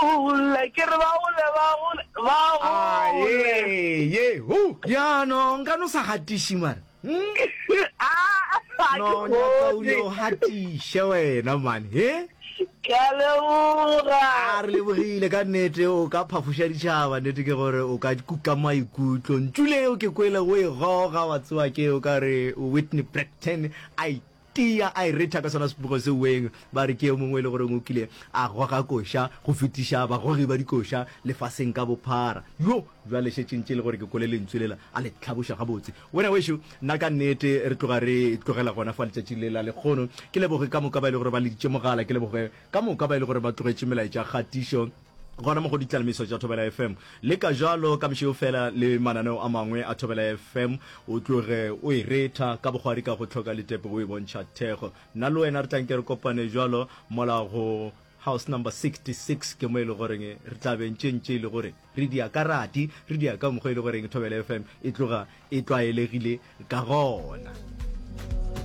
gole, ke re ba gole, ba gole, ba gole. Aye, ye, hu. Ya no, nka no sa gatiši mara. Hmm? Ah, ga ke No, nyaka o kgone. no gatiše wena man, he? Ke a leboga. A re lebogile ka nnete, o ka phafoša ditšhaba, nnete ke gore o ka kuka maikutlo. Ntšu leo ke kwele o e goga, wa tsewa ke o ka re Whitney Brackton a itia a e retha ka sona sepogo se weng. Ba re ke yo mongwe e le goreng o kile a goga koša go fetiša bagogi ba dikoša lefaseng ka bophara. Yo, bjale šetše ntše e le gore ke kwele lentswe lela a le hlaboša gabotse. Wena wešo, nna ka nnete re tloga re tlogela gona fa letšatšing le la lekgono. Ke leboge ka moka ba e le gore ba leditše mogala, ke leboge ka moka ba e le gore ba tlogetše melaetša kgatišo gona mo go ditlalemiso tša Thobela FM. Le ka jalo ka bošego fela le mananeo a mangwe a Thobela FM, o tloge o e retha ka bokgwari ka go hloka letepe o e bontšha thekgo. Nna le wena re tla nke re kopane jalo mola go House number 66 ke mo e le goreng re tla be ntše ntše e le gore re dia ka rati, re dia ka mokgwa e le goreng Thobela FM e tloga e tlwaelegile ka gona.